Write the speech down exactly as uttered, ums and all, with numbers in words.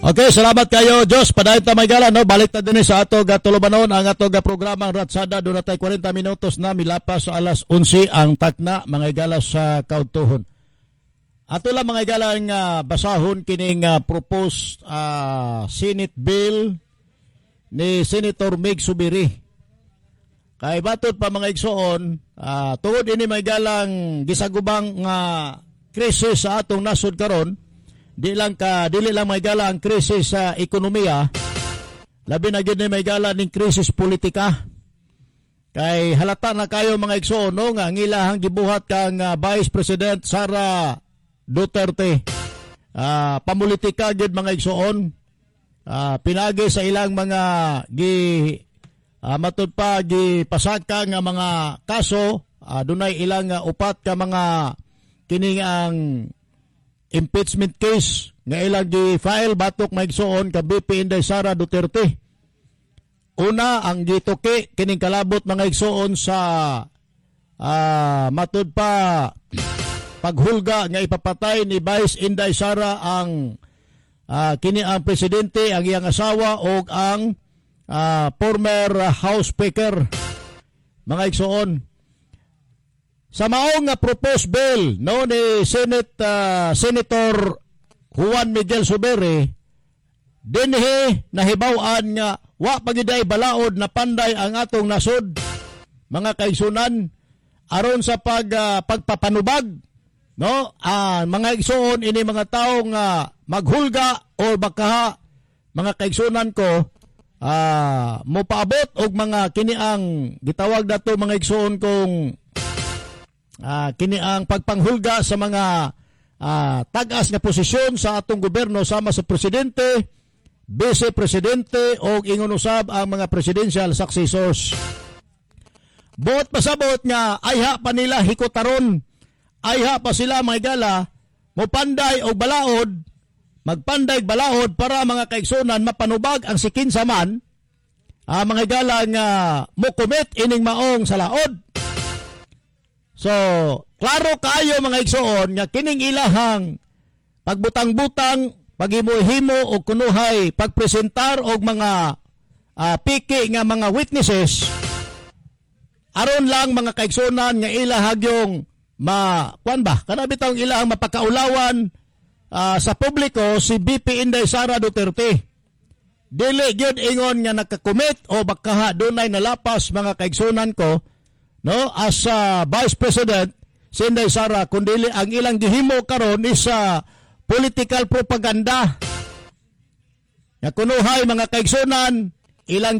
Okay, salamat kayo, Diyos. Padayon ta, mga higala, no? Balik ta din sa ato ga tulubanon ang ato ga programa, ang Ratsada. Duna tay kwarenta minutos na milapas sa alas onse ang takna, mga higala, sa kaudtohon. Ato lang, mga higala, nga basahon kining uh, proposed uh, Senate Bill ni Senator Migz Zubiri. Kay batod pa, mga igsoon, uh, tungod ini, mga higalang, gisagubang nga krisis sa atong nasod karon, di lang ka dili lang, mga higala, ang krisis sa ekonomiya, labi na gyud ni, mga higala, ning krisis politika. Kay halata na kayo, mga igsoon, no, nga ang ilahang gibuhat kang uh, Vice President Sara Duterte. Uh, pamulitika gyud, mga igsoon. Uh, pinagi sa ilang mga gi uh, matud pa gipasaka nga mga kaso, uh, dunay ilang uh, upat ka mga kining ang impeachment case nga ilang gi-file batok, mga igsoon, ka V P Inday Sara Duterte. Una, ang gituki kining kalabot, mga igsoon, sa uh, matud pa paghulga nga ipapatay ni Vice Inday Sara ang uh, kini ang presidente, ang iyang asawa o ang uh, former House Speaker. Mga igsoon, sa maong nga proposed bill, no, ni Senate uh, Senator Juan Miguel Zubiri, dinhi nahibaw-an nga wa pagiday balaod na panday ang atong nasod, mga kaigsunan, aron sa pag uh, pagpapanubag, no, ah, mga igsoon, ini mga tawo nga maghulga o baka, mga kaigsunan ko, ah, mopaabot og mga kini ang gitawag dato, mga igsoon, kong ah, kini ang pagpanghulga sa mga ah, tag-as nga posisyon sa atong gobyerno sama sa presidente, vice presidente o ingon usab ang mga presidential successors. Buot pasabot nga ayha pa nila hikotaron. Ayha pa sila, mga higala, mopanday og balaod, magpanday og balaod para, mga kaigsunan, mapanubag ang sikinsa man ah, mga higala, nga mo commit ining maong salaod. So, klaro kayo, mga igsoon, nga kining ilahang pagbutang-butang, paghimo-himo o kunuhay, pagpresentar og mga ah, piki nga mga witnesses aron lang, mga kaigsunan, nga ilahag yung ma kuan ba kana bitawng ilahang mapakaulawan ah, sa publiko si V P Inday Sara Duterte. Dili gyud ingon nga nakakomit o baka dunay nalapas, mga kaigsunan ko, no, as ah, Vice President si Inday Sara, kundi ang ilang gihimo karon is ah, political propaganda nga kunuhay, mga kaigsunan, ilang